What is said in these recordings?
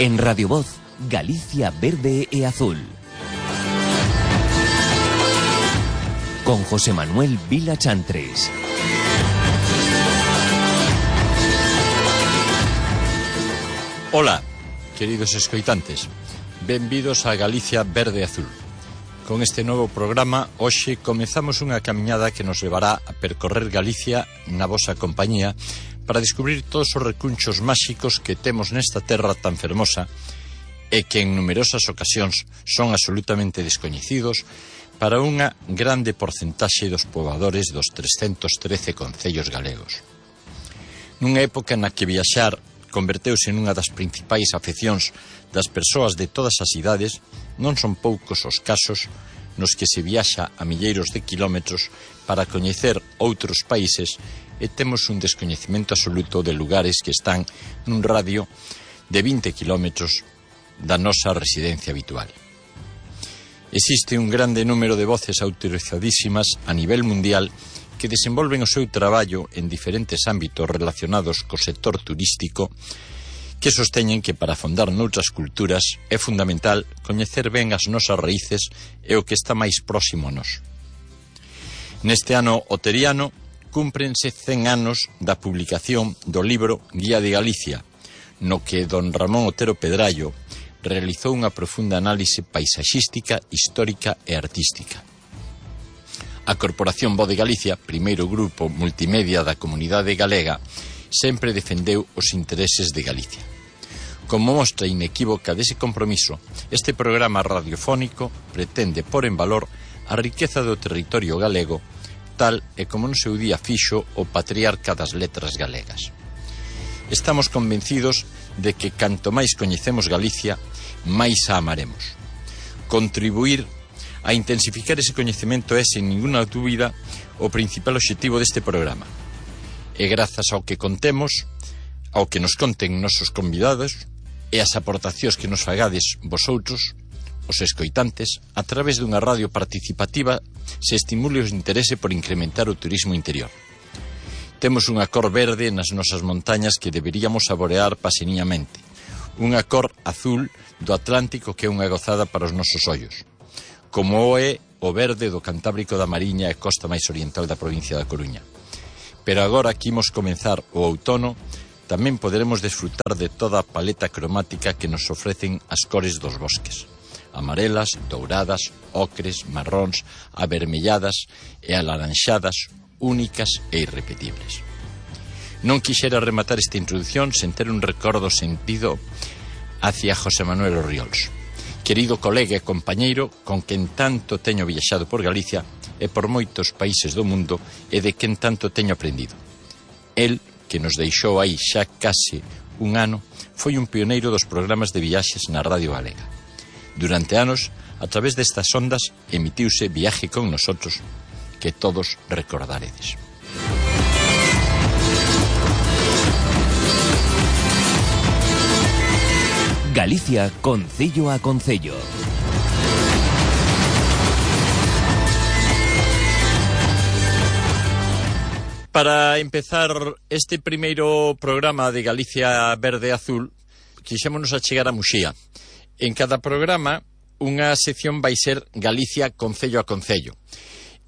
En Radio Voz, Galicia verde e azul. Con José Manuel Vila Chantres. Ola, queridos escoitantes. Benvidos a Galicia verde e azul. Con este novo programa, hoxe comezamos unha camiñada que nos levará a percorrer Galicia na vosa compañía para descubrir todos os recunchos máxicos que temos nesta terra tan fermosa e que en numerosas ocasións son absolutamente descoñecidos para unha grande porcentaxe dos poboadores dos 313 concellos galegos. Nunha época na que viaxar converteuse nunha das principais afeccións das persoas de todas as idades, non son poucos os casos nos que se viaxa a milleiros de quilómetros para coñecer outros países e temos un descoñecemento absoluto de lugares que están nun radio de 20 quilómetros da nosa residencia habitual. Existe un grande número de voces autorizadísimas a nivel mundial que desenvolven o seu traballo en diferentes ámbitos relacionados co sector turístico que sosteñen que para afondar noutras culturas é fundamental coñecer ben as nosas raíces e o que está máis próximo a nós. Neste ano oteriano cúmprense 100 anos da publicación do libro Guía de Galicia, no que don Ramón Otero Pedrallo realizou unha profunda análise paisaxística, histórica e artística. A Corporación Voz de Galicia, primeiro grupo multimedia da comunidade galega, sempre defendeu os intereses de Galicia. Como mostra inequívoca dese compromiso, este programa radiofónico pretende pôr en valor a riqueza do territorio galego, tal e como no seu día fixo o patriarca das letras galegas. Estamos convencidos de que canto máis coñecemos Galicia, máis a amaremos. Contribuir a intensificar ese coñecemento é, sen ninguna dúbida, o principal obxectivo deste programa. E grazas ao que contemos, ao que nos conten nosos convidados e as aportacións que nos fagades vosoutros, os escoitantes, a través dunha radio participativa, se estimule o interese por incrementar o turismo interior. Temos unha cor verde nas nosas montañas que deberíamos saborear paseniñamente, unha cor azul do Atlántico que é unha gozada para os nosos ollos, como o é o verde do Cantábrico da Mariña e costa máis oriental da provincia da Coruña. Pero agora que imos comenzar o outono, tamén poderemos desfrutar de toda a paleta cromática que nos ofrecen as cores dos bosques. Amarelas, douradas, ocres, marróns, avermelladas e alaranxadas, únicas e irrepetibles. Non quixera rematar esta introdución sen ter un recordo sentido hacia José Manuel Orriols, querido colega e compañeiro con quen tanto teño viaxado por Galicia e por moitos países do mundo e de quen tanto teño aprendido. El, que nos deixou aí xa case un ano, foi un pioneiro dos programas de viaxes na Radio Galega. Durante anos, a través destas ondas, emitiuse Viaje con Nosotros, que todos recordaredes. Galicia, concello a concello. Para empezar este primeiro programa de Galicia Verde e Azul, quixémonos achegar a Muxía. En cada programa, unha sección vai ser Galicia concello a concello.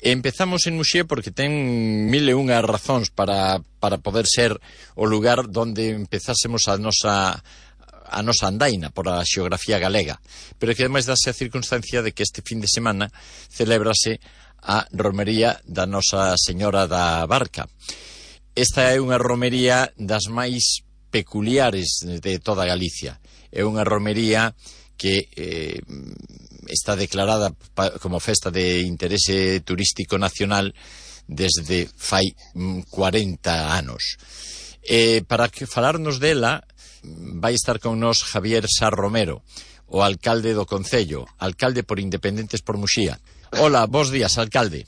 Empezamos en Muxía porque ten 1001 razóns para poder ser o lugar donde empezásemos a nosa andaina por a xeografía galega, pero que ademais dase a circunstancia de que este fin de semana celébrase a romería da Nosa Señora da Barca. Esta é unha romería das máis peculiares de toda Galicia. É unha romería que está declarada como festa de interese turístico nacional desde fai 40 anos. Para falarnos dela vai estar con nós Javier Sá Romero, o alcalde do concello, alcalde por Independentes por Muxía. Hola, bos días, alcalde.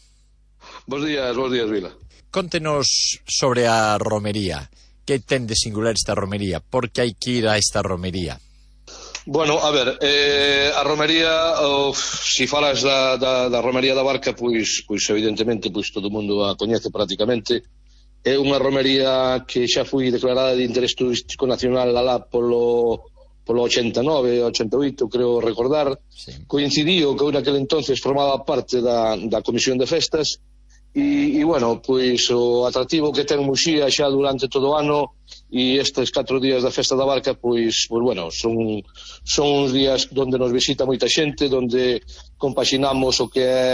Bos días, Vila. Contenos sobre a romería. Que ten de singular esta romería? Por que hai que ir a esta romería? Bueno, a ver, a romería, si falas da romería da Barca, pois evidentemente todo o mundo a coñece prácticamente. É unha romería que xa foi declarada de interés turístico nacional alá polo polo 89, 88, creo recordar, sí. Coincidiu que eu naquele entonces formaba parte da Comisión de Festas, e bueno, pois o atractivo que ten Muxía xa durante todo o ano, e estes 4 días da Festa da Barca, pois bueno, son uns días onde nos visita moita xente, onde compaxinamos o que é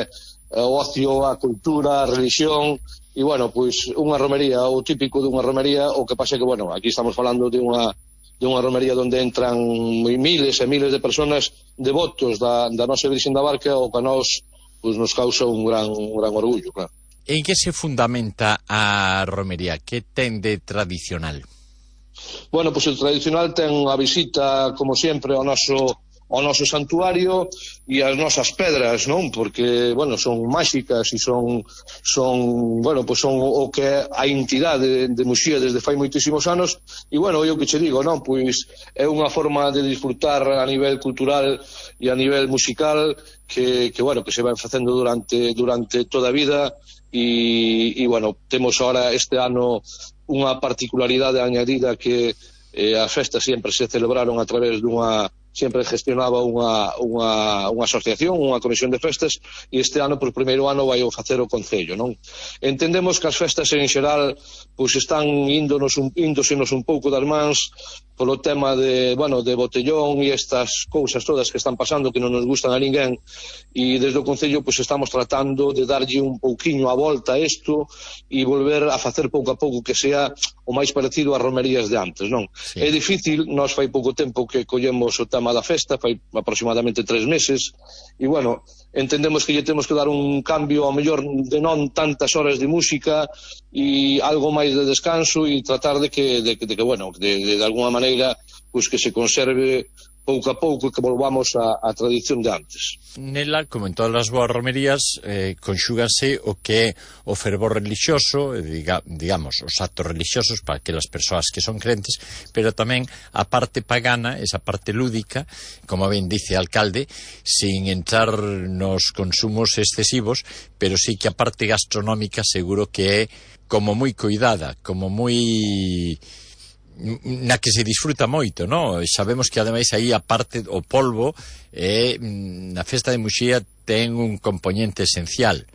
o ocio, a cultura, a religión, e bueno, pois unha romería, o típico dunha romería, o que pasa que, bueno, aquí estamos falando de unha romería onde entran miles e miles de personas devotos da nosa Virxen da Barca, o que a nós pois nos causa un gran orgullo, claro. En que se fundamenta a romería? Que ten de tradicional? Bueno, pois o tradicional ten a visita, como sempre, ao noso santuario e as nosas pedras, non? Porque, bueno, son máxicas e son bueno, pois son o que é a entidade de Muxía desde fai moitísimos anos, e, bueno, eu que che digo, non? Pois é unha forma de disfrutar a nivel cultural e a nivel musical que bueno, que se vai facendo durante toda a vida, e bueno, temos ahora este ano unha particularidade añadida, que as festas sempre se celebraron a través sempre gestionaba unha asociación, unha comisión de festas, e este ano, por primeiro ano, vai facer o Concello, non? Entendemos que as festas en xeral pois están índosenos un pouco das mans polo tema de botellón e estas cousas todas que están pasando que non nos gustan a ninguén, e desde o Concello pois estamos tratando de darlle un pouquiño a volta a isto e volver a facer pouco a pouco que sea o máis parecido ás romerías de antes, non? Sí. É difícil, nós fai pouco tempo que collemos o tema da festa, fai aproximadamente 3 meses, e bueno, entendemos que lle temos que dar un cambio, ao mellor de non tantas horas de música e algo máis de descanso, e tratar de que bueno, de alguna maneira, pois que se conserve pouco a pouco, que volvamos á tradición de antes. Nela, como en todas as boas romerías, conxúgase o que é o fervor religioso, digamos, os actos religiosos para aquelas persoas que son crentes, pero tamén a parte pagana, esa parte lúdica, como ben dice o alcalde, sin entrar nos consumos excesivos, pero sí que a parte gastronómica seguro que é como moi cuidada, como moi na que se disfruta moito, non? Sabemos que ademais aí a parte o polvo na festa de Muxía ten un componente esencial.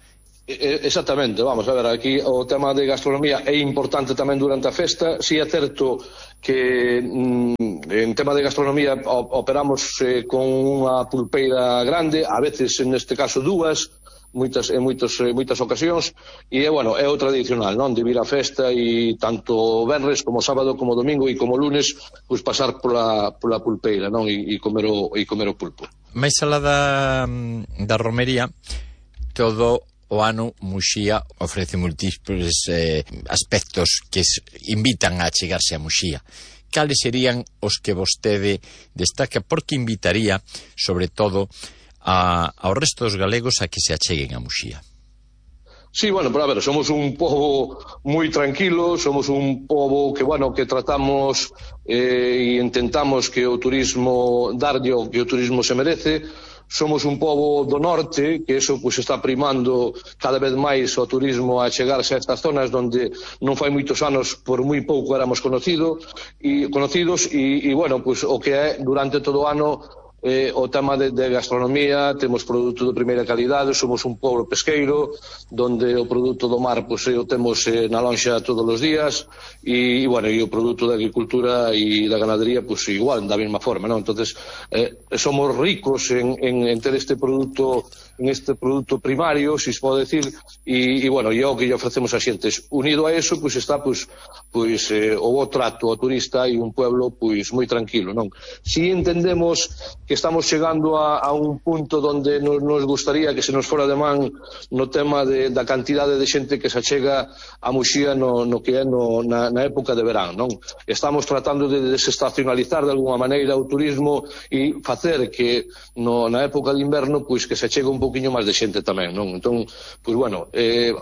Exactamente, vamos a ver, aquí o tema de gastronomía é importante tamén durante a festa. Si é certo que en tema de gastronomía operamos con unha pulpeira grande, a veces neste caso dúas, moitas ocasións, e bueno, é o tradicional, non? De vir á festa e tanto venres como sábado como domingo e como lunes, pois pasar pola pulpeira, non? E comer o pulpo. Mais alá da romería, todo o ano Muxía ofrece múltiples aspectos que invitan a chegarse a Muxía. Cales serían os que vostede destaca, porque invitaría, sobre todo, ao resto dos galegos a que se acheguen a Muxía? Sí, bueno, pero a ver, somos un pobo moi tranquilo, somos un pobo que, bueno, que tratamos e intentamos que o turismo darlle o que o turismo se merece. Somos un pobo do norte, que eso pues está primando cada vez máis o turismo a chegarse a estas zonas onde non fai moitos anos por moi pouco éramos conocidos e bueno, pues o que é durante todo o ano o tema de gastronomía. Temos produto de primeira calidade, somos un pobo pesqueiro donde o produto do mar pois o temos na lonxa todos os días, e bueno, e o produto da agricultura e da ganadería pois igual, da mesma forma, non? Entonces somos ricos en ter este produto primario, se se pode decir, e bueno, e o que lle ofrecemos a xentes. Unido a eso, pois está o bo trato ao turista e un pueblo pois moi tranquilo, non? Si entendemos que estamos chegando a un punto onde nos gustaría que se nos fora de man no tema da cantidade de xente que se achega a Muxía no que é na época de verán, non? Estamos tratando de desestacionalizar de alguna maneira o turismo e facer que na época de inverno pois que se chegue un pouquiño máis de xente tamén, non? Entón, pois bueno,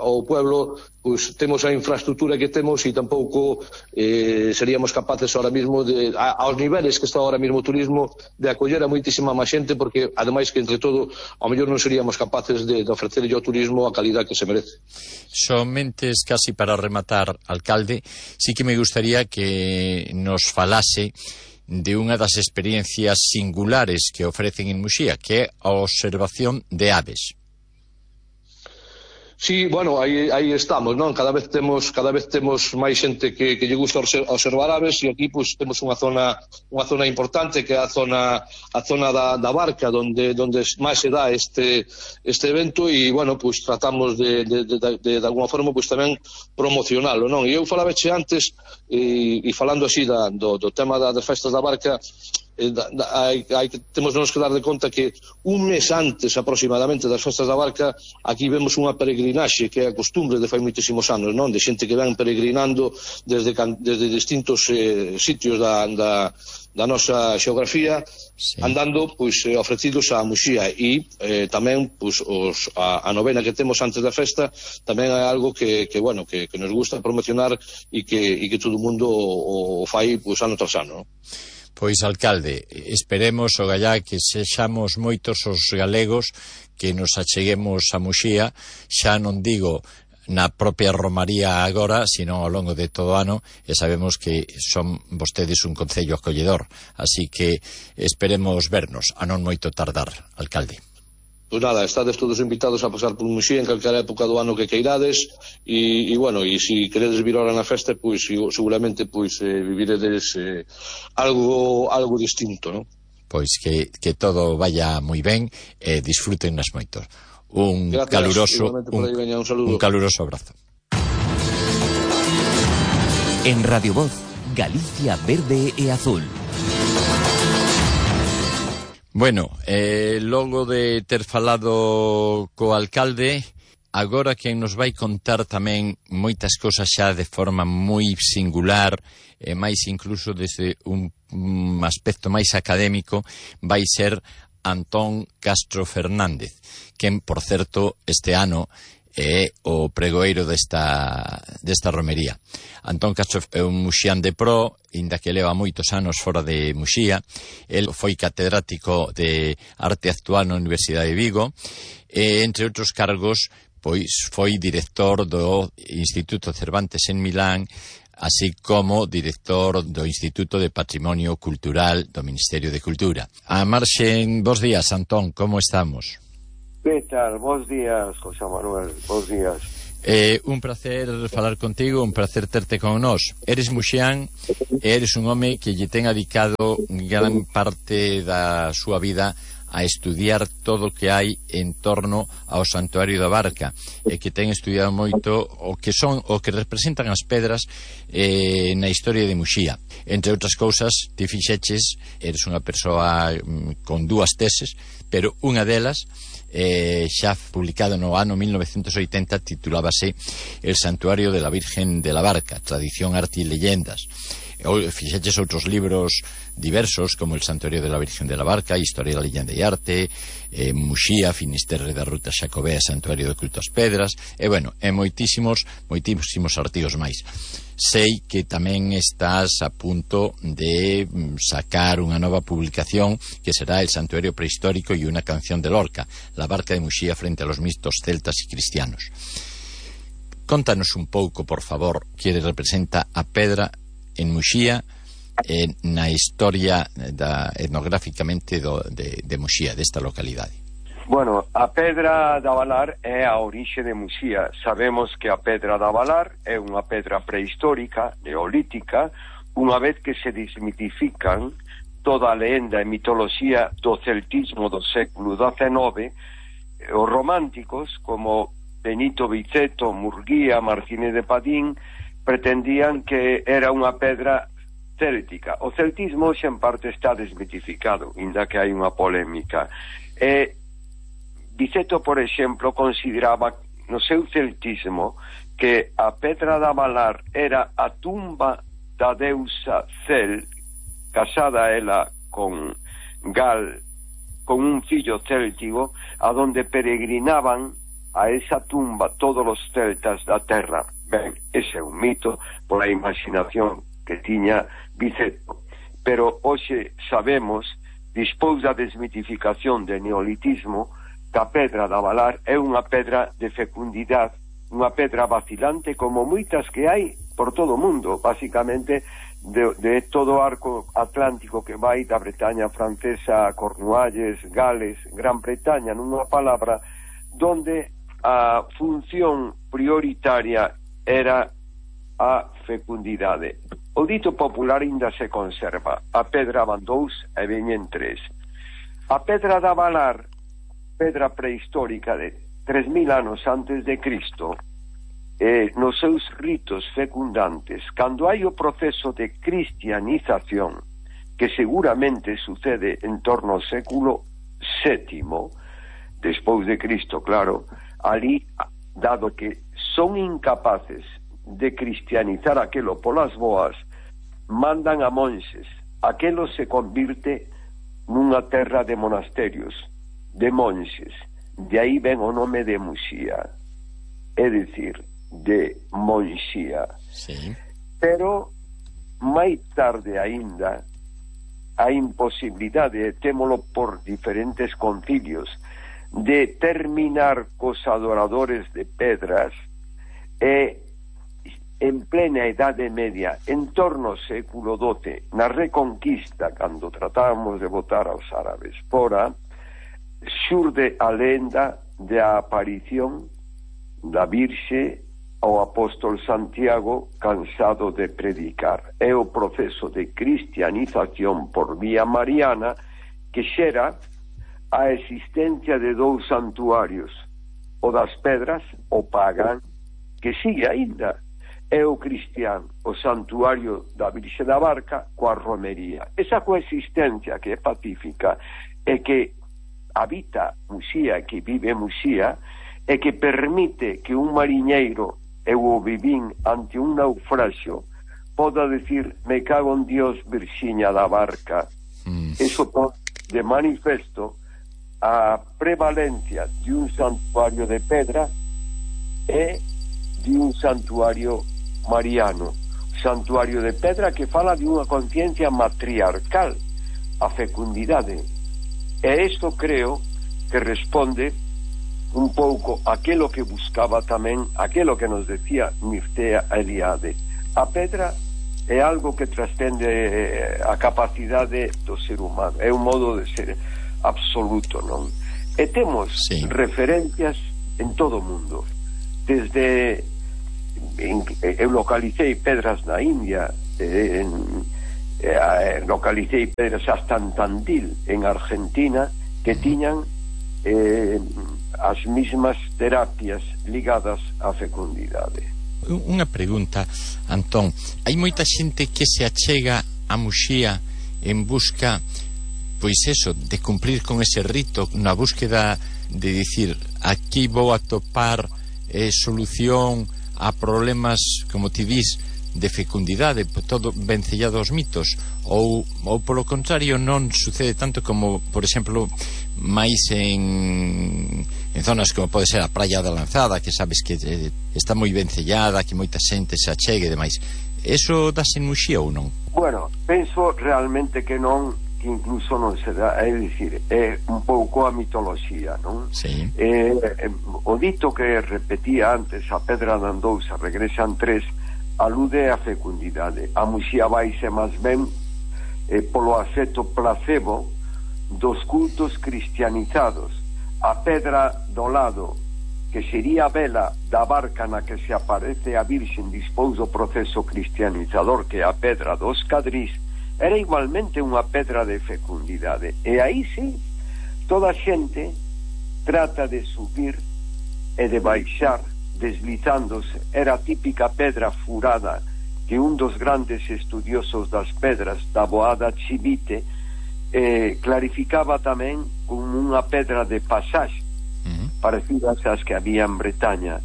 o pueblo pois temos a infraestructura que temos e tampouco seríamos capaces ahora mismo aos niveles que está ahora mismo o turismo de acoller a moitísima máis xente, porque ademais que entre todo ao mellor non seríamos capaces de ofrecerlle ao turismo a calidad que se merece. Somente casi para rematar, alcalde, sí que me gustaría que nos falase de unha das experiencias singulares que ofrecen en Muxía, que é a observación de aves. Sí, bueno, aí estamos, non? Cada vez temos máis xente que lle gusta observar aves, e aquí pois temos unha zona importante, que é a zona da Barca, onde máis se dá este evento, e bueno, pois tratamos de alguma forma pois tamén promocionalo, non? E eu falaveche antes, e falando así do tema das festas da Barca, temos que dar de conta que un mes antes aproximadamente das festas da Barca aquí vemos unha peregrinaxe, que é a costumbre de fai moitísimos anos, non? De xente que ven peregrinando desde distintos sitios da nosa xeografía, sí, andando pois ofrecidos a Muxía, e tamén pois a novena que temos antes da festa tamén é algo que nos gusta promocionar, e que todo o mundo o fai pois ano tras ano, non? Pois, alcalde, esperemos o gallá que sexamos moitos os galegos que nos acheguemos a Muxía, xa non digo na propia Romaría agora, sino ao longo de todo o ano, e sabemos que son vostedes un concello acolledor, así que esperemos vernos, a non moito tardar, alcalde. Pois nada, estades todos invitados a pasar por Muxía en calquera época do ano que queirades, e bueno, e se queredes vir ahora na festa, pois seguramente pois viviredes algo distinto, non? Pois que todo vaya moi ben e disfrútennas moito. Un caluroso abrazo. En Radio Voz, Galicia Verde e Azul. Bueno, logo de ter falado co alcalde, agora que nos vai contar tamén moitas cosas xa de forma moi singular, e máis incluso desde un aspecto máis académico, vai ser Antón Castro Fernández, quen, por certo, este ano é o pregoeiro desta romería. Antón Castro é un muxián de pro, inda que leva moitos anos fora de Muxía. El foi catedrático de Arte Actual na Universidade de Vigo, e, entre outros cargos, pois foi director do Instituto Cervantes en Milán, así como director do Instituto de Patrimonio Cultural do Ministerio de Cultura. A marxen, bos días, Antón, como estamos? Que tal? Bos días, José Manuel, bos días. Un placer falar contigo, un placer terte con nós. Eres muxián e eres un home que lle ten dedicado gran parte da súa vida a estudiar todo o que hai en torno ao Santuario da Barca, e que ten estudiado moito o que representan as pedras na historia de Muxía. Entre outras cousas, ti fixeches, eres unha persoa con dúas teses, pero unha delas xa publicado no ano 1980, titulábase El Santuario de la Virgen de la Barca, Tradición, Arte e Leyendas. Fixeches outros libros diversos, como El Santuario de la Virgen de la Barca, Historia da Leyenda e Arte, Muxía, Finisterre da Ruta Xacobea, Santuario de Culto ás Pedras, e bueno, moitísimos artigos máis. Sei que tamén estás a punto de sacar unha nova publicación que será El Santuario Prehistórico y una canción de Lorca, la Barca de Muxía frente a los mitos celtas y cristianos. Contanos un pouco, por favor, que representa a pedra en Muxía, na historia etnográficamente de Muxía, desta localidade. Bueno, a pedra da Valar é a orixe de Muxía. Sabemos que a pedra da Valar é unha pedra prehistórica, neolítica, unha vez que se desmitifican toda a lenda e mitoloxía do celtismo do século XIX, os románticos, como Benito Viceto, Murguía, Martínez de Padín, pretendían que era unha pedra céltica. O celtismo xa en parte está desmitificado, inda que hai unha polémica. Viceto, por exemplo, consideraba no seu celtismo que a pedra da Valar era a tumba da deusa Cel, casada ela con Gal, con un fillo céltico, a donde peregrinaban a esa tumba todos os celtas da terra. Ben, ese é un mito por a imaginación que tiña Viceto. Pero hoxe sabemos, despois da desmitificación do neolitismo, que a pedra da Valar é unha pedra de fecundidade, unha pedra vacilante como moitas que hai por todo o mundo, basicamente de todo o arco atlántico que vai da Bretaña francesa a Cornualles, Gales, Gran Bretaña, nunha palabra, donde a función prioritaria era a fecundidade. O dito popular ainda se conserva: a pedra van 2 e veñen 3. A pedra da Valar, pedra prehistórica de 3000 anos antes de Cristo, nos seus ritos fecundantes, cando hai o proceso de cristianización, que seguramente sucede en torno ao século VII, despois de Cristo, claro, ali, dado que son incapaces de cristianizar aquelo polas boas, mandan a monxes. Aquelo se convirte nunha terra de monasterios, de monxes. De aí ven o nome de Muxía, é dicir, de Monxía. Sí. Pero máis tarde aínda a imposibilidade, témolo por diferentes concilios, de terminar cos adoradores de pedras, e en plena Idade Media, en torno ao século XII, na Reconquista, cando tratábamos de botar aos árabes fora, xurde a lenda da aparición da Virxe ao apóstolo Santiago, cansado de predicar. É o proceso de cristianización por vía mariana que xera a existencia de 2 santuarios, o das pedras, o pagán, que sigue aínda, é o cristián, o santuario da Virxe da Barca coa romería. Esa coexistencia que é pacífica e que habita Muxía, que vive Muxía, e que permite que un mariñeiro, eu o vivín ante un naufraxio, poda decir: me cago en Dios, Virxiña da Barca. Eso pon de manifesto a prevalencia de un santuario de pedra e de un santuario mariano. Santuario de pedra que fala de unha conciencia matriarcal, a fecundidade. E isto creo que responde un pouco aquelo que buscaba tamén, aquelo que nos decía Mircea Eliade. A pedra é algo que trascende a capacidade do ser humano, é un modo de ser absoluto, non? E temos referencias en todo o mundo. Desde eu localicei pedras na India, localicei pedras hasta en Tandil, en Argentina, que tiñan as mismas terapias ligadas á fecundidade. Unha pregunta, Antón. Hai moita xente que se achega a Muxía en busca, pois eso, de cumplir con ese rito, na búsqueda de dicir: aquí vou a topar solución a problemas, como ti dis, de fecundidade, todo vencellado aos mitos, ou polo contrario non sucede tanto como, por exemplo, máis en zonas como pode ser a Praia da Lanzada, que sabes que está moi vencellada, que moita xente se achegue e demais. Eso dáse en Muxía ou non? Bueno, penso realmente que non, que incluso non se dá, é dicir, é un pouco a mitoloxía, non? Sí. O dito que repetía antes, a pedra dan 2, a regresan 3, alude a fecundidade. A Muxía vaise máis ben polo efecto placebo dos cultos cristianizados. A pedra do lado, que sería a vela da barca na que se aparece a Virxen dispós do proceso cristianizador, que é a pedra dos Cadrís, era igualmente unha pedra de fecundidade. E aí sí, toda a xente trata de subir e de baixar deslizándose. Era a típica pedra furada que un dos grandes estudiosos das pedras, da Boada Chivite, clarificaba tamén como unha pedra de pasaxe, parecidas ás que había en Bretaña,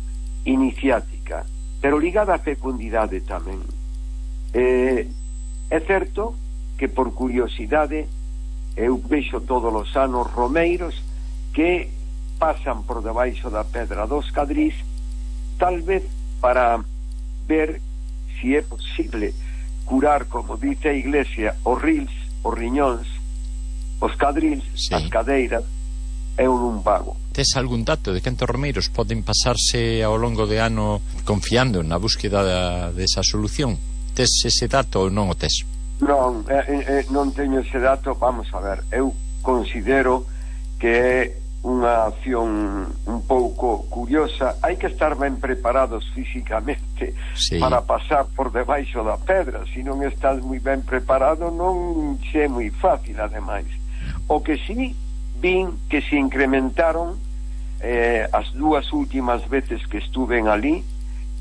iniciática, pero ligada á fecundidade tamén. É certo que, por curiosidade, eu vexo todos os anos romeiros que pasan por debaixo da pedra dos Cadrís, tal vez para ver si é posible curar, como dice a Iglesia, os rils, os riñóns, os cadrils, as cadeiras e o lumbago. Tes algún dato de cantos romeiros poden pasarse ao longo de ano confiando na búsqueda desa solución? tes ese dato ou non o tes? Non, non teño ese dato. Vamos a ver, eu considero que é unha acción un pouco curiosa. Hai que estar ben preparados físicamente para pasar por debaixo da pedra. Se non estás moi ben preparado, non é moi fácil, ademais. O que sí vin que se incrementaron as dúas últimas veces que estuven ali,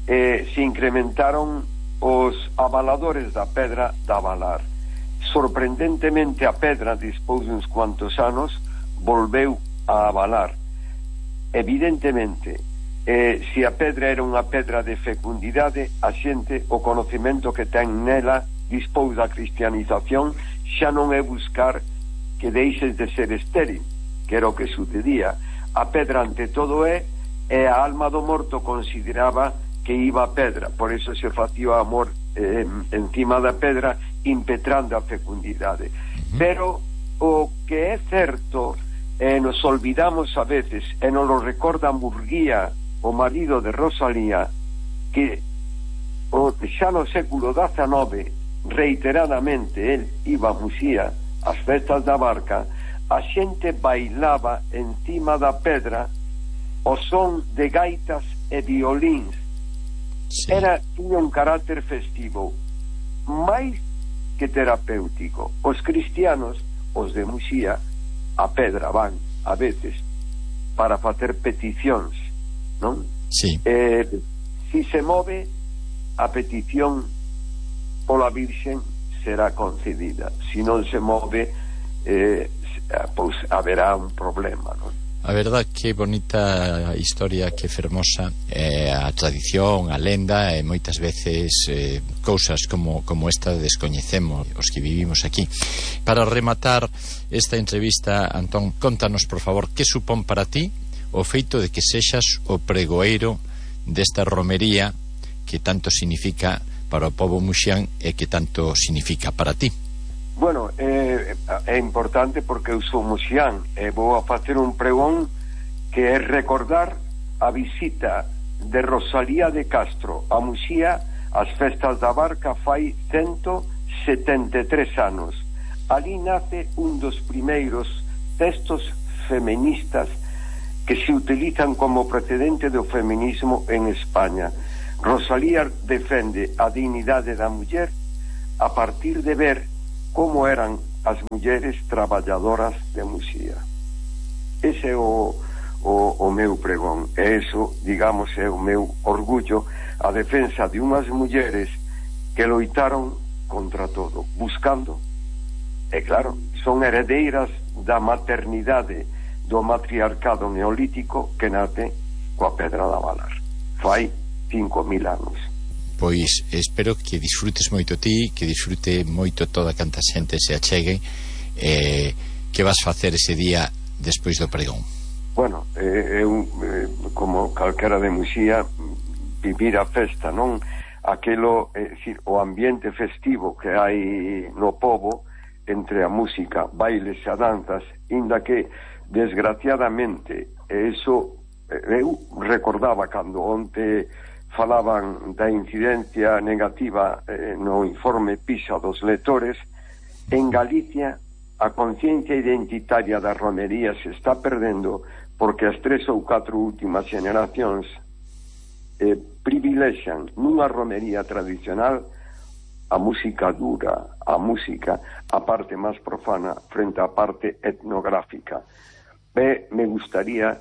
se incrementaron os avaladores da pedra da Valar. Sorprendentemente, a pedra, despois de uns cuantos anos, volveu a avalar. Evidentemente, se a pedra era unha pedra de fecundidade, a xente, o conocemento que ten nela despois da cristianización, xa non é buscar que deixes de ser estéril, que era o que sucedía. A pedra, ante todo, é a alma do morto consideraba que iba a pedra, por eso se facía o amor encima da pedra, impetrando a fecundidade. Pero o que é certo, nos olvidamos a veces, e nos lo recorda Murguía, o marido de Rosalía, que xa no século XIX, reiteradamente, el iba a Muxía, ás festas da Barca, a xente bailaba encima da pedra o son de gaitas e violíns. Tiña un carácter festivo, máis que terapéutico. Os cristianos, os de Muxía, a pedra van, a veces, para facer peticións, non? Sí. Si se move, a petición pola Virxen será concedida. Si non se move, pois haberá un problema, non? A verdad, que bonita historia, que fermosa, a tradición, a lenda, e moitas veces cousas como esta descoñecemos os que vivimos aquí. Para rematar esta entrevista, Antón, contanos, por favor, que supón para ti o feito de que sexas o pregoeiro desta romería que tanto significa para o pobo muxián e que tanto significa para ti. Bueno, é importante porque eu sou muxián e vou a facer un pregón que é recordar a visita de Rosalía de Castro a Muxía ás festas da Barca fai 173 anos. Ali nace un dos primeiros textos feministas que se utilizan como precedente do feminismo en España. Rosalía defende a dignidade da muller a partir de ver como eran as mulleres traballadoras de Muxía. Ese é o meu pregón, e eso, digamos, é o meu orgullo, a defensa de unhas mulleres que loitaron contra todo, buscando, e claro, son heredeiras da maternidade do matriarcado neolítico que nace coa pedra da Valar fai 5.000 anos. Pois espero que disfrutes moito ti, que disfrute moito toda canta xente se achegue. Que vas facer ese día despois do pregón? Bueno, como calquera de Muxía, vivir a festa, non? Aquelo, o ambiente festivo que hai no pobo, entre a música, bailes e a danzas, inda que, desgraciadamente, eso eu recordaba cando onte falaban da incidencia negativa no informe PISA dos lectores. En Galicia a conciencia identitaria da romería se está perdendo porque as 3 ou 4 últimas generacións privilexan nunha romería tradicional a música dura, a música, a parte máis profana frente á parte etnográfica. Me gustaría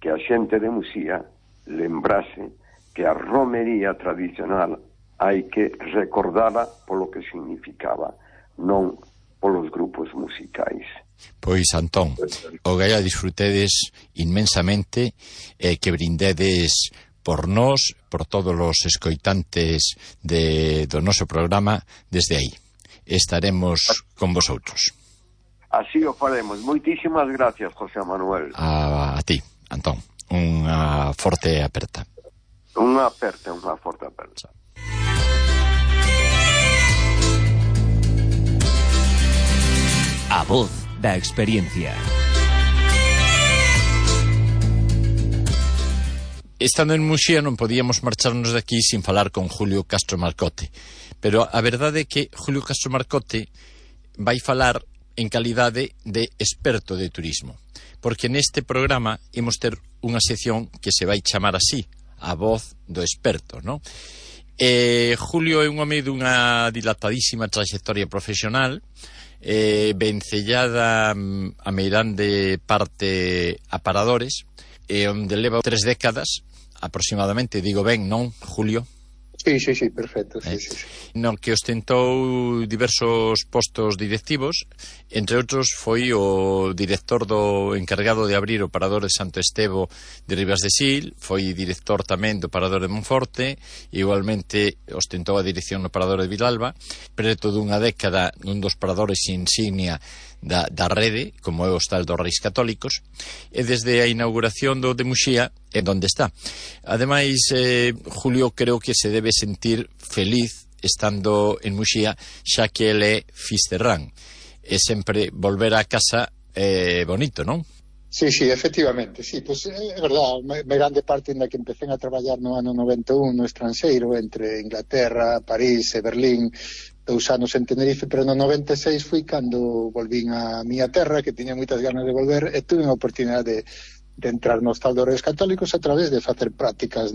que a xente de Muxía lembrase que a romería tradicional hai que recordala polo que significaba, non polos grupos musicais. Pois, Antón, o gai a disfrutedes inmensamente e que brindedes por nós, por todos os escoitantes do noso programa desde aí. Estaremos con vosotros. Así o faremos. Moitísimas gracias, José Manuel. A ti, Antón. Unha forte aperta. Unha forte aperta. A voz da experiencia. Estando en Muxía non podíamos marcharnos de aquí sin falar con Julio Castro Marcote, Pero a verdade é que Julio Castro Marcote vai falar en calidade de experto de turismo, porque neste programa imos ter unha sección que se vai chamar así, a voz do experto, non? Julio é un home dunha dilatadísima trayectoria profesional, vencellada a meirande parte a paradores, onde leva 3 décadas aproximadamente, digo ben, non, Julio? Sí, perfecto, sí. No que ostentou diversos postos directivos, entre outros foi o director do encargado de abrir o parador de Santo Estevo de Ribas de Sil, foi director tamén do parador de Monforte, igualmente ostentou a dirección no parador de Vilalba, preto dunha década nun dos paradores insignia da rede, como é o Hostal dos Reis Católicos, e desde a inauguración do de Muxía é onde está. Ademais, Julio creo que se debe sentir feliz estando en Muxía, xa que ele é fisterrán, e sempre volver a casa é bonito, non? Sí, efectivamente, sí, pues é verdad, me grande parte na que empecé a traballar no ano 91 no estranxeiro, entre Inglaterra, París e Berlín, 2 anos en Tenerife, pero no 96 fui cando volvín a miña terra, que tiña moitas ganas de volver, e tuve a oportunidade de entrar no Hostal dos Reis Católicos a través de facer prácticas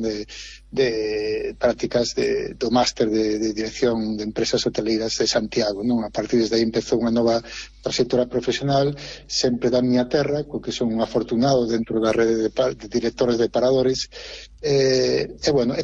do máster de dirección de empresas hoteleiras de Santiago, non? A partir desde aí empezou unha nova trayectoria profesional sempre da miña terra, co que son un afortunado dentro da rede de directores de paradores, e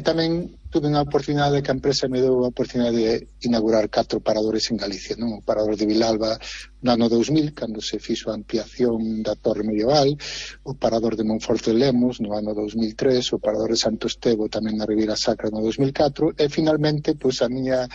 tamén tuve unha oportunidade que a empresa me deu a oportunidade de inaugurar 4 paradores en Galicia, non? O parador de Vilalba no ano 2000, cando se fixo a ampliación da torre medieval, o parador de Monforte de Lemos no ano 2003, o parador de Santo Estevo tamén na Ribeira Sacra no 2004, e finalmente, pois a miña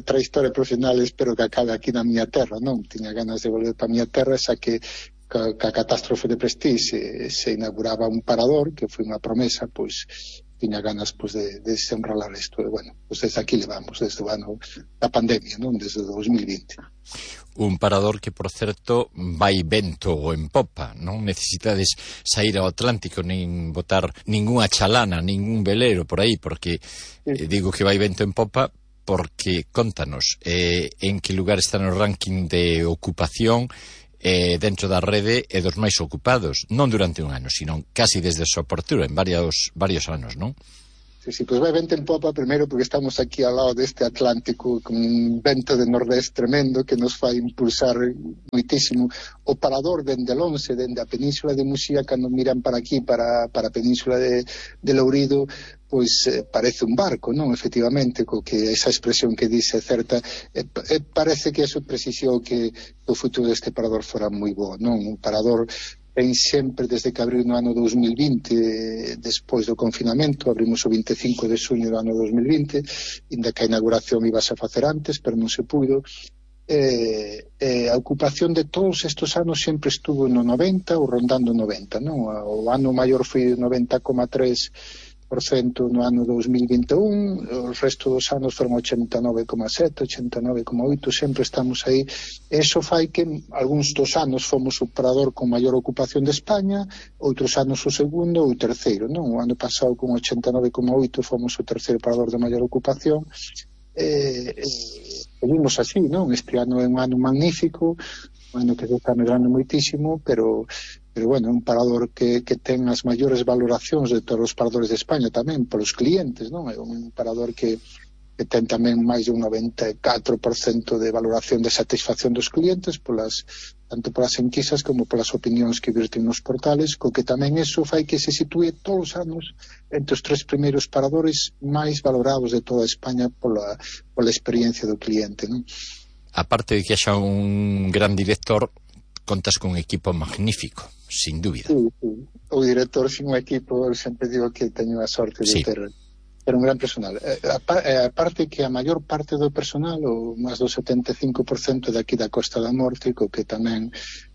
trayectoria profesional espero que acabe aquí na miña terra, non? Tiña ganas de volver para a miña terra, xa que ca catástrofe de Prestige se inauguraba un parador, que foi unha promesa, pois tiña ganas pois de desenrolar isto, e pois desde aquí levamos, desde o ano da pandemia, non? Desde 2020. Un parador que, por certo, vai vento en popa, non necesitades sair ao Atlántico nin botar ningunha chalana, ningún velero por aí, porque digo que vai vento en popa porque, contanos, en que lugar está no ranking de ocupación dentro da rede e dos máis ocupados, non durante un ano, sino casi desde a súa apertura, en varios anos, non? Sí, pois vai vento en popa, primeiro porque estamos aquí ao lado deste Atlántico con un vento de nordés tremendo que nos fai impulsar moitísimo. O parador dende Lonxe, dende a península de Muxía, cando miran para aquí, para a península de Lourido, pois parece un barco, non? Efectivamente, co que esa expresión que dice certa, parece que eso precisou que o futuro deste parador fora moi bo, non? Un parador ten sempre, desde que abriu no ano 2020, despois do confinamento, abrimos o 25 de xuño do ano 2020, inda que a inauguración ibase a facer antes, pero non se puido. A ocupación de todos estes anos sempre estuvo no 90 ou rondando 90, non? O ano maior foi 90,3% no ano 2021, o resto dos anos foron 89,7, 89,8, sempre estamos aí. Eso fai que algúns dos anos fomos o parador con maior ocupación de España, outros anos o segundo ou o terceiro, non? O ano pasado con 89,8 fomos o terceiro parador de maior ocupación, seguimos así, non? Este ano é un ano magnífico, un ano que se está medrando moitísimo, pero un parador que ten as maiores valoracións de todos os paradores de España tamén, polos clientes, non? É un parador que ten tamén máis de un 94% de valoración de satisfacción dos clientes, tanto polas enquisas como polas opinións que virten nos portales, co que tamén eso fai que se sitúe todos os anos entre os 3 primeiros paradores máis valorados de toda España pola experiencia do cliente, non? Aparte de que haxa un gran director, contas con un equipo magnífico, sin dúbida. Sí. O director sin un equipo, sempre digo que teño a sorte de ter un gran personal. Aparte que a maior parte do personal, o máis do 75% de aquí da Costa da Morte, co que tamén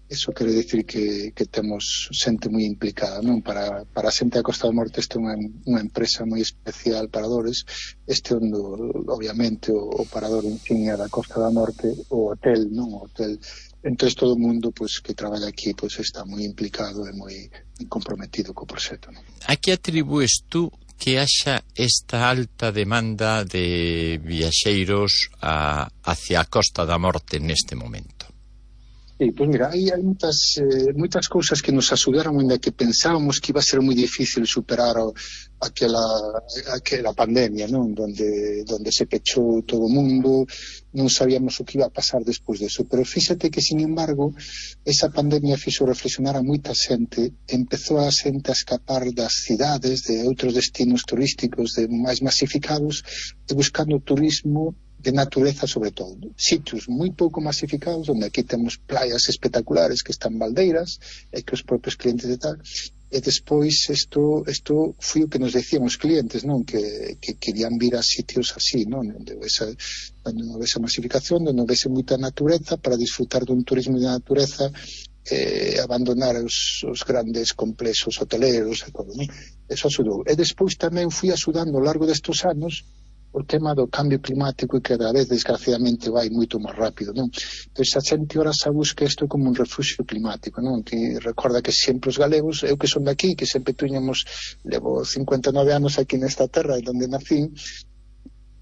eso quere dicir que temos xente moi implicada, non? Para a xente da Costa da Morte este é unha empresa moi especial, paradores. Este é obviamente o parador insignia da Costa da Morte, o hotel, non? O hotel. Entón todo o mundo pois que traballa aquí pois está moi implicado e moi comprometido co proxecto, non? A que atribúes tú que haxa esta alta demanda de viaxeiros hacia a Costa da Morte neste momento? Sí, pues mira, hai moitas cousas que nos axudaron, ainda que pensábamos que iba a ser moi difícil superar aquela pandemia, non? Donde se pechou todo o mundo, non sabíamos o que iba a pasar despois deso. Pero fíxate que, sin embargo, esa pandemia fixo reflexionar a moita xente, empezou a xente a escapar das cidades, de outros destinos turísticos máis masificados, e buscando turismo de natureza, sobre todo. Sitios moi pouco masificados, onde aquí temos playas espectaculares que están baldeiras, e que os propios clientes e tal. E despois isto foi o que nos decían os clientes, non? Que querían vir a sitios así, non? Onde non houvese masificación, onde non houvese moita natureza, para disfrutar dun turismo de natureza, abandonar os grandes complexos hoteleros e todo, non? Eso axudou. E despois tamén fui axudando ao largo destes anos o tema do cambio climático, e cada vez, desgraciadamente, vai moito máis rápido, non? Entón, a xente ora se busca isto como un refugio climático, non? Que recorda que sempre os galegos, eu que son daqui, que sempre levo 59 anos aquí nesta terra, onde nací,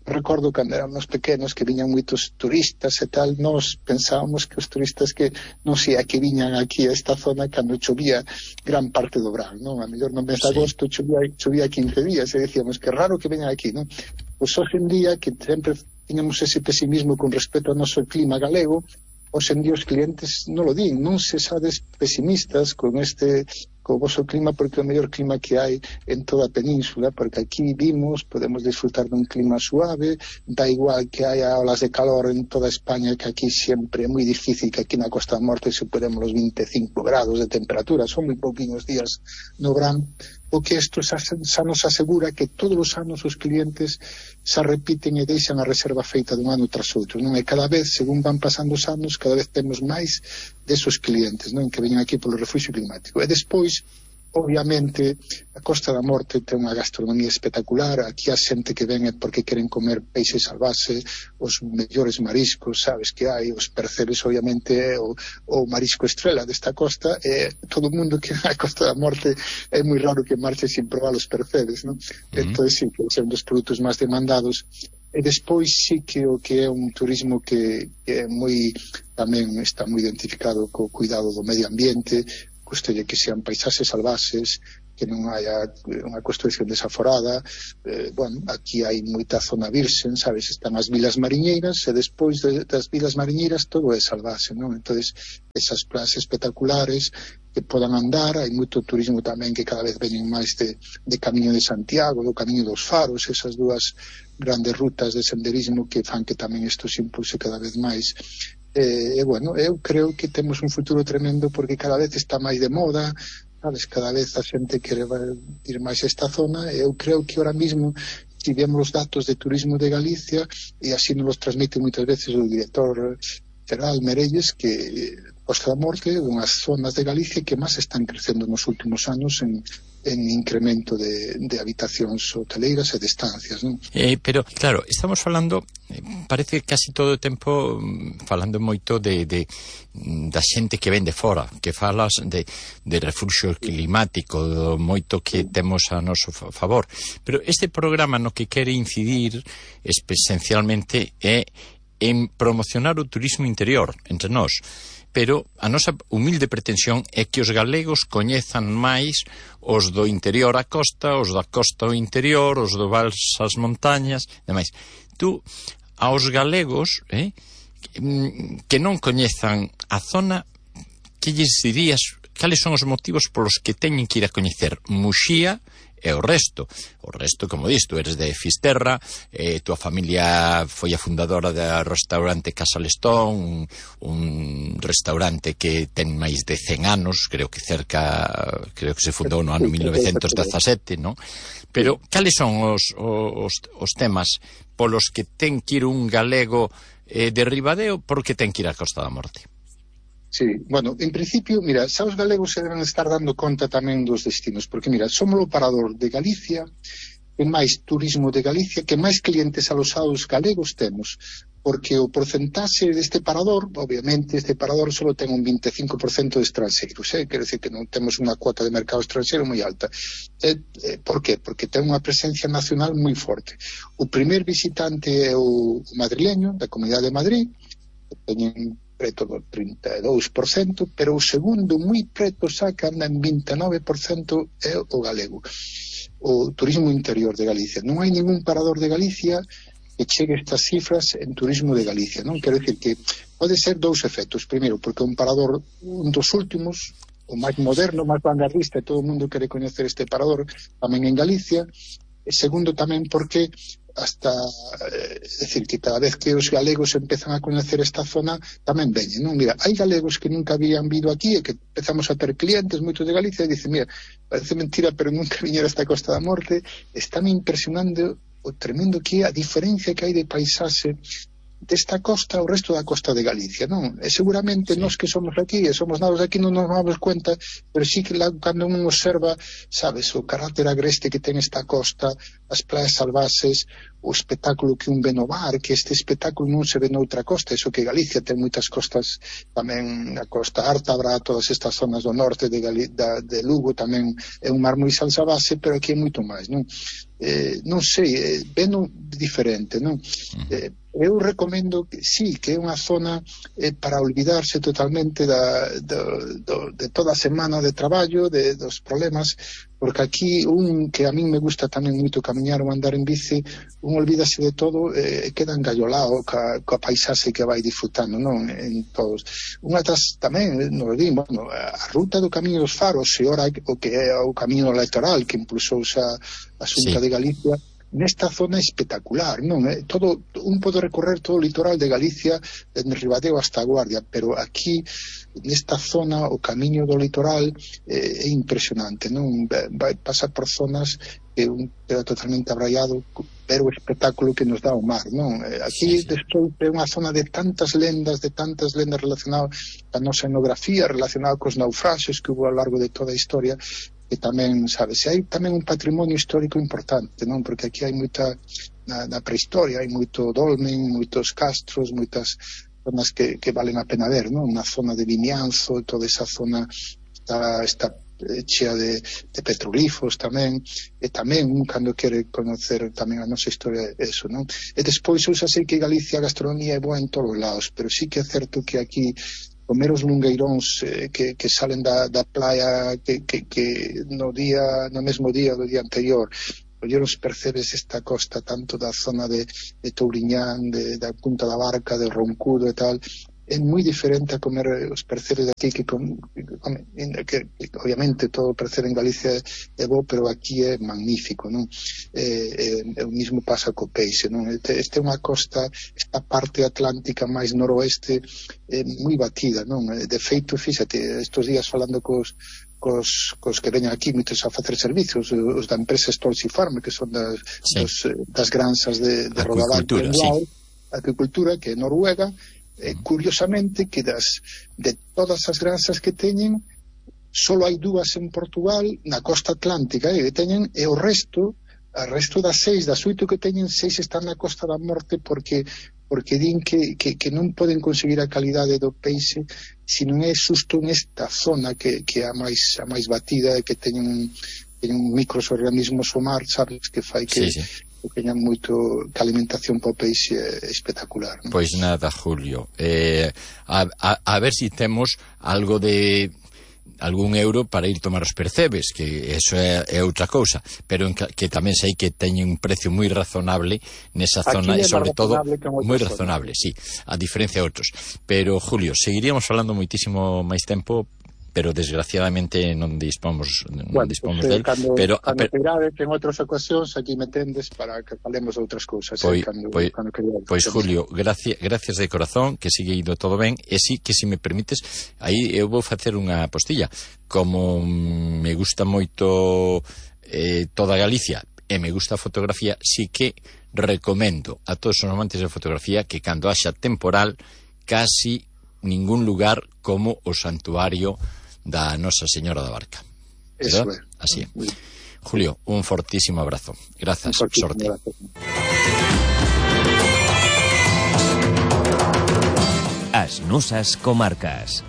recordo cando éramos pequenos que viñan moitos turistas e tal, nós pensábamos que os turistas que non sei a que viñan aquí a esta zona cando chovía gran parte do verán, non? A mellor no mes de agosto chovía 15 días e decíamos que raro que veñan aquí, non? Pois hoxe en día, que sempre tiñamos ese pesimismo con respecto ao noso clima galego, hoxe en día os clientes non lo din, non se sabes pesimistas con o vosso clima, porque é o mellor clima que hai en toda a península, porque aquí podemos disfrutar dun clima suave, da igual que haya olas de calor en toda España, que aquí sempre é moi difícil que aquí na Costa da Morte superemos os 25 grados de temperatura, son moi pouquinhos días no verán, porque isto xa nos asegura que todos os anos os clientes xa repiten e deixan a reserva feita dun ano tras outro, non? E cada vez, según van pasando os anos, cada vez temos máis desos clientes, non? Que veñen aquí polo refugio climático. E despois, obviamente, a Costa da Morte ten unha gastronomía espectacular. Aquí a xente que ven é porque queren comer peixe salvaxe, os mellores mariscos, sabes, que hai, os percebes, obviamente, é o marisco estrela desta costa, e todo o mundo que vai a Costa da Morte é moi raro que marche sin probar os percebes, non? Entón, sí, que é un dos produtos máis demandados. E despois sí que o que é un turismo que é tamén está moi identificado co cuidado do medio ambiente, custolle que sean paisaxes salvaxes, que non haya unha construcción desaforada. Aquí hai moita zona virxen, sabes, están as vilas mariñeiras, e despois das vilas mariñeiras todo é salvaxe, non? Entón, esas playas espectaculares que podan andar, hai moito turismo tamén que cada vez veñen máis de Camiño de Santiago, do Camiño dos Faros, esas dúas grandes rutas de senderismo que fan que tamén isto se impulse cada vez máis. Eu creo que temos un futuro tremendo, porque cada vez está máis de moda, sabes, cada vez a xente quere ir máis a esta zona, e eu creo que ahora mismo, si vemos os datos de turismo de Galicia, e así nos transmite moitas veces o director Feral Merelles, que Costa da Morte é unhas zonas de Galicia que máis están crecendo nos últimos anos en incremento de habitacións hoteleiras e de estancias, non? Pero, claro, estamos falando, parece casi todo o tempo falando moito da xente que ven de fora, que falas de refugio climático, do moito que temos a noso favor. Pero este programa no que quere incidir esencialmente é en promocionar o turismo interior entre nós. Pero a nosa humilde pretensión é que os galegos coñezan máis os do interior á costa, os da costa ao interior, os do vals ás montañas, demais. Tú, aos galegos que non coñezan a zona, que lles dirías, cales son os motivos polos que teñen que ir a coñecer Muxía e o resto, como dis, tú eres de Fisterra, tua familia foi a fundadora do restaurante Casa Lestón, un restaurante que ten máis de 100 anos, creo que se fundou no ano 1917, non? Pero cales son os temas polos que ten que ir un galego de Ribadeo, porque ten que ir a Costa da Morte? Sí, en principio, mira, xa os galegos se deben estar dando conta tamén dos destinos, porque, mira, somos o parador de Galicia, que máis turismo de Galicia, que máis clientes alosados galegos temos. porque o porcentaxe deste parador, obviamente, este parador só ten un 25% de estranxeiros, quero dicir que non temos unha cuota de mercado estranxeiro moi alta. Por qué? Porque ten unha presencia nacional moi forte. O primer visitante é o madrileño, da Comunidade de Madrid, que teñen preto do 32%, pero o segundo, moi preto, xa que anda en 29%, é o galego, o turismo interior de Galicia. Non hai ningún parador de Galicia que chegue estas cifras en turismo de Galicia, non? Quero dicir que pode ser dous efectos. Primeiro, porque un parador, un dos últimos, o máis moderno, máis vanguardista, e todo o mundo quere coñecer este parador tamén en Galicia. E segundo, tamén porque hasta, decir, que cada vez que os galegos empezan a coñecer esta zona, tamén veñen, non? Mira, hai galegos que nunca habían vido aquí e que empezamos a ter clientes moitos de Galicia e dicen, mira, parece mentira, pero nunca viñera esta Costa da Morte. Están impresionando o tremendo que é a diferencia que hai de paisaxe desta costa ao resto da costa de Galicia, non? E seguramente nós que somos aquí, e somos novos aquí, non nos damos cuenta, pero sí que cando un observa, sabes, o carácter agreste que ten esta costa, as playas salvaxes, o espectáculo que un ve no mar, que este espectáculo non se ve noutra costa, eso que Galicia ten moitas costas, tamén a Costa Ártabra, todas estas zonas do norte de Lugo, tamén é un mar moi salvaxe, pero aquí é moito máis, non? Non sei, veno diferente, non? Eu recomendo que sí, que é unha zona para olvidarse totalmente de toda a semana de traballo, dos problemas, porque aquí que a min me gusta tamén moito camiñar ou andar en bici, un olvídase de todo e queda engallolado coa paisaxe que vai disfrutando, non? En todos. Unha das tamén, non lo digo, bueno, a ruta do Camiño dos Faros, e ora o que é o Camiño Electoral que impulsou a Xunta de Galicia, nesta zona espectacular, non? Todo, un pode recorrer todo o litoral de Galicia dende Ribadeo hasta a Guardia, pero aquí nesta zona o camiño do litoral é impresionante, non? Vai pasar por zonas que un queda totalmente abraiado, pero o espectáculo que nos dá o mar, non? Aquí despois é unha zona de tantas lendas relacionadas a nosa etnografía, relacionada cos naufraxes que hubo ao largo de toda a historia, que tamén, sabes, hai tamén un patrimonio histórico importante, non? Porque aquí hai moita, na prehistoria, hai moito dolmen, moitos castros, moitas zonas que valen a pena ver, non? Unha zona de Vimianzo, toda esa zona está chea de petroglifos tamén, e tamén un cando quere conocer tamén a nosa historia, eso, non? E despois eu xa sei que Galicia a gastronomía é boa en todos os lados, pero sí que é certo que aquí comer os lungueiróns que salen da playa que no mesmo día do día anterior, coller os percebes esta costa tanto da zona de Touriñán, da Punta da Barca, de Roncudo e tal, é moi diferente a comer os percebes aquí que obviamente todo o percebe en Galicia é bo, pero aquí é magnífico, non? O mismo pasa co peixe, non? Este é unha costa, esta parte atlántica máis noroeste moi batida, non? De feito, fíxate, estos días falando cos que veñan aquí moitos a facer servicios, os da empresa Stolz Farm, que son das granxas de Rodaval, acuicultura, que é Noruega. Curiosamente que de todas as granxas que teñen só hai 2 en Portugal na costa atlántica que teñen, e o resto das 6, das 8 que teñen, 6 están na Costa da Morte porque din que non poden conseguir a calidade do peixe se non é xusto nesta zona que é a máis batida, que teñen microorganismos o mar, sabes, que fai que teñan moito, que a alimentación para o peixe é espectacular, non? Pois nada, Julio, a ver si temos algo de algún euro para ir tomar os percebes, que eso é outra cousa, pero que tamén sei que teñen un precio moi razonable nesa zona, e sobre todo moi razonable, sí, a diferencia de outros. Pero Julio, seguiríamos falando moitísimo máis tempo, pero desgraciadamente non dispomos del, pero queirades en outras ocasións aquí me tendes para que falemos de outras cousas. Pois Julio, gracias de corazón, que sigue indo todo ben, e sí que se me permites, aí eu vou facer unha postilla. Como me gusta moito toda Galicia e me gusta a fotografía, sí que recomendo a todos os amantes de fotografía que cando haxa temporal casi ningún lugar como o santuario da Nosa Señora da Barca. Eso é. Así é. Julio, un fortísimo abrazo. Grazas, sorte. das nosas comarcas.